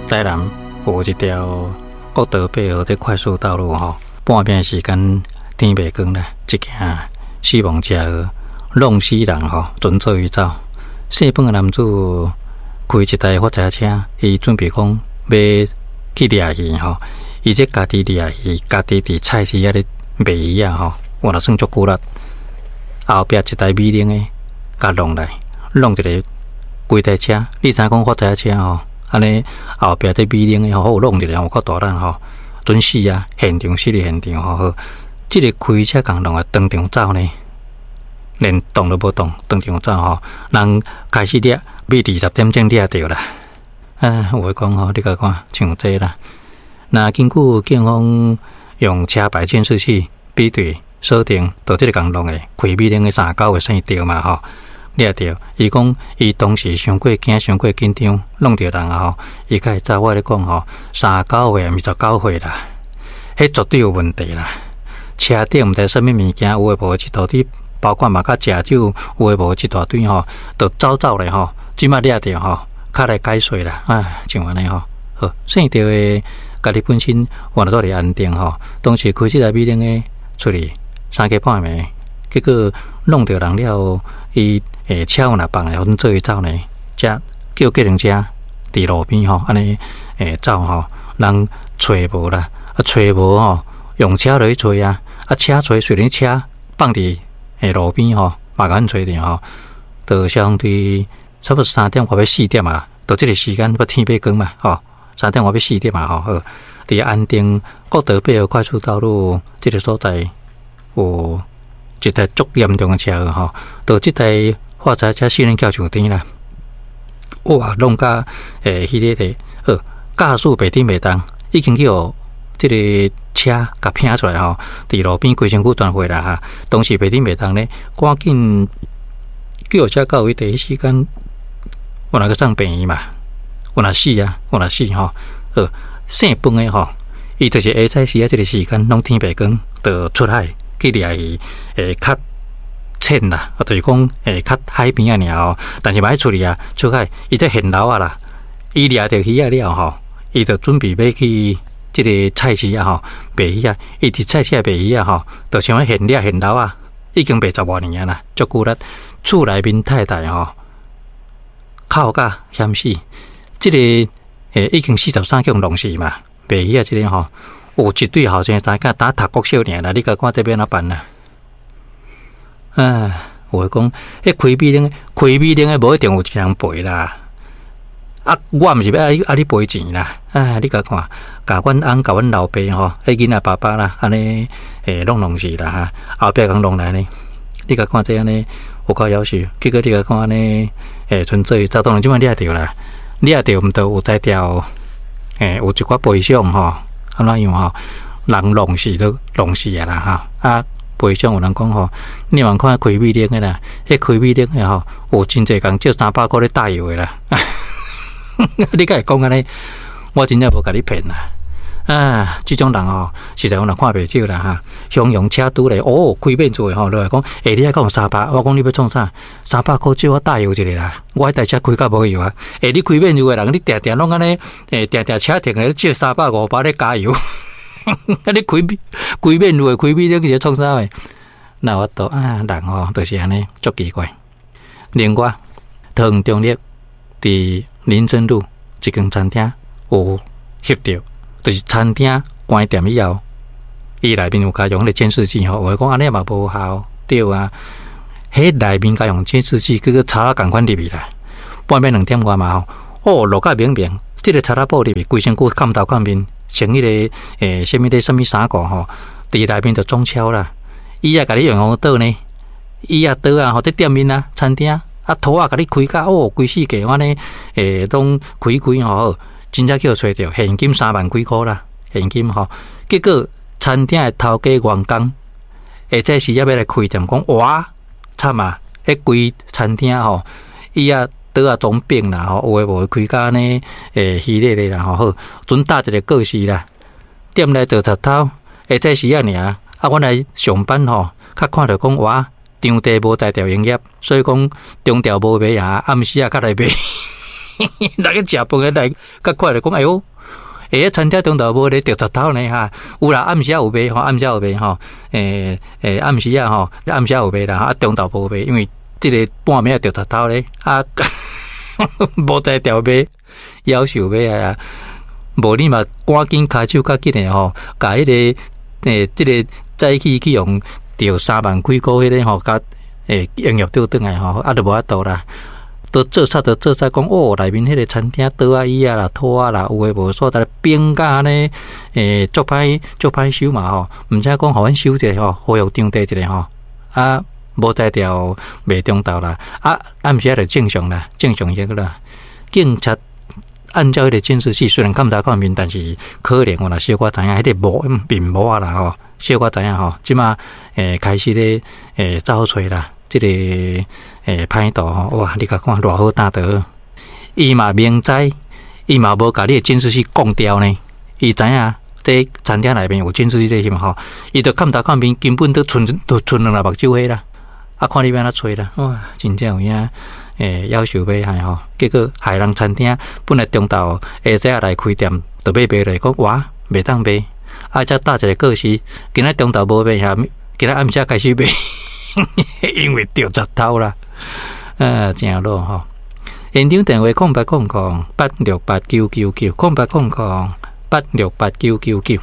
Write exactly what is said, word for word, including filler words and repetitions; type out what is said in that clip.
台南有一條國道八號的快速道路吼，半暝時間天袂光啦，一件死亡車禍，弄死人吼，船做伊走。姓彭的男子開一台發財車，伊準備講欲去掠魚吼，伊這家己掠魚，家己佇菜市仔咧賣魚仔吼，原來算足久力。後壁一台美玲的共弄來，弄一个規台車。你知影講發財車吼，按呢後壁這美玲的吼，好弄一个有夠大力吼，準死啊！現場死佇現場吼，好，這个開車共弄來當場走呢，連動都無動，當場走吼，人開始掠，欲二十點鐘掠著啦。啊，有話講吼，你共看像這啦。若根據警方用車牌監視器比對鎖定，著這个共弄的開美玲的三九的姓趙嘛吼，掠著。伊講伊當時傷過驚，傷過緊張，弄著人啊吼，伊才會走。我咧講吼，三九歲毋是十九歲啦，彼絕對有問題啦。車頂毋知啥物物件，有的無的一大堆，包括嘛佮食酒，有的無的一大堆吼，就走走咧吼，這擺掠著吼，較來解釋啦，啊，像按呢吼，好，姓趙的家己本身原來住佇安定吼，當時開這台美玲的出去三更半暝，結果弄著人了後，伊欸車若放來，予阮做伊走呢，才叫計程車佇路邊吼，按呢欸走吼，人揣無啦，啊揣無吼，用車落去揣啊，啊車揣雖然車放佇欸路邊吼，嘛共阮揣著吼，就相對差不多三點外欲四點啊，著這个時間欲天欲光嘛，吼，三點外欲四點啊，吼，好，佇安定國道八號快速道路這个所在有一台足嚴重的車禍吼，就這台發財車四輪轎上天啦，哇，弄甲欸彼个个，好，駕駛袂振袂動，已經去予這个車共拚出來吼，佇路邊規身軀全血啦哈，當時袂振袂動咧，趕緊救護車到位第一時間，原來去送病院嘛，原來死啊，原來死吼，好，姓彭的吼，伊就是下早時仔這个時間，攏天袂光，就出海去掠魚，會較淺啦，啊，就是講會較海邊仔爾吼，但是嘛愛出去啊，出海，伊這現撈仔啦，伊掠著魚仔了吼，伊就準備欲去這个菜市仔吼賣魚仔，伊佇菜市仔賣魚仔吼，就像現掠現撈仔，已經賣十外年啊啦，足久力。厝內面太太吼，哭甲險死，這个欸已經四十三去予弄死嘛，賣魚仔這个吼，有一對後生查囝當讀國小爾啦，你共看這欲按怎辦啦？啊，有話講，彼開美玲，開美玲的無一定有一個人賠啦。啊，我毋是欲愛愛你賠錢啦。啊，你共看，共阮翁、共阮老爸吼，彼囡仔爸爸啦，按呢欸攏弄死啦哈。後壁共弄來呢，你共看這按呢有夠夭壽，結果你共看按呢欸，純粹當然這擺掠著啦，掠著毋著有才調，欸有一寡賠償吼，按怎樣吼？人弄死都弄死啊啦哈啊！賠償有人講吼，你茫看開美玲的啦，彼開美玲的吼，有真濟共借三百箍咧擔油的啦。你敢會講按呢？我真正無共你騙啦！啊，這種人吼，實在我若看袂少啦哈。形容車拄咧，哦，開免厝的吼，落來講，欸，你愛講三百，我講你欲創啥？三百箍借我擔油一下啦，我彼台車開甲無油啊！欸，你開免厝的人，你定定攏按呢，欸，定定車停咧借三百五百咧加油。啊！你開開免厝的開美玲是咧創啥的？哪有法度啊，人吼就是按呢，足奇怪。另外，桃園中壢佇林森路一間餐廳有翕著，就是餐廳關店以後，伊內面有共用彼個監視器吼，有的講按呢嘛無效，對啊。彼內面共用監視器，結果賊仔仝款入去啦。半暝兩點外嘛吼，哦，落甲明明，這个賊仔步入去，規身軀崁頭崁面，穿彼个欸啥物咧啥物衫褲吼，佇內面就裝超啦。伊也共你用用刀呢，伊也刀啊，吼，佇店面啊，餐廳啊，拖仔共你開甲哦，規世界按呢，欸，攏開開吼，真正去予揣著現金三萬幾箍啦，現金吼。結果餐廳的頭家員工，下早時猶欲來開店，講哇，慘啊！彼規餐廳吼，伊也刀仔裝柄啦，吼，有的無的開甲按呢，欸，虛咧咧啦，吼，好，準搭一个故事啦。店內做賊偷，下早時仔爾，啊，阮來上班吼，較看著講哇，場地無才調營業，所以講中調無賣啊，暗時仔較來賣。人去食飯的來較快就講，哎喲，欸，餐廳中晝無咧著賊頭呢哈，有啦，暗時仔有賣吼，暗時仔有賣吼，欸欸，暗時仔吼，暗時仔有賣啦，啊，中晝無賣，因為這个半暝著賊頭咧，啊，無才調賣，夭壽欲害啊！無你嘛趕緊跤手較緊的吼，共彼个欸，這个早起去予著三萬幾箍彼个吼，共欸營業倒轉來吼，啊，就無法度啦。都做煞都做煞講哦，內面彼个餐廳桌仔椅仔啦、拖仔啦，有的無所在變甲按呢，欸，足歹足歹收嘛吼，毋知講予阮收一下吼，恢復場地一下吼，啊，無才調賣中晝啦，啊，暗時仔就正常啦，正常迄個啦。警察按照彼个監視器，雖然看毋到面，但是可能我若小可知影彼个模面模仔啦吼，小可知影吼，這馬欸開始咧欸走揣啦。這个欸歹徒吼，哇！你共看偌好擔著，伊嘛明知，伊嘛無共你的監視器關掉呢。伊知影這餐廳內面有監視器是嘛吼，伊就看頭看面，根本都賰都賰兩粒目睭花啦。啊，看你欲按怎揣啦，哇！真正有影欸夭壽欲害吼，結果害人餐廳本來中晝下早來開店，就欲賣咧，講哇袂當賣，啊，才搭一个告示，今仔中晝無賣遐，今仔暗時開始賣。因為著賊頭啦，啊，誠老吼。現場電話空八空空八六八九九九，空八空空八六八九九九。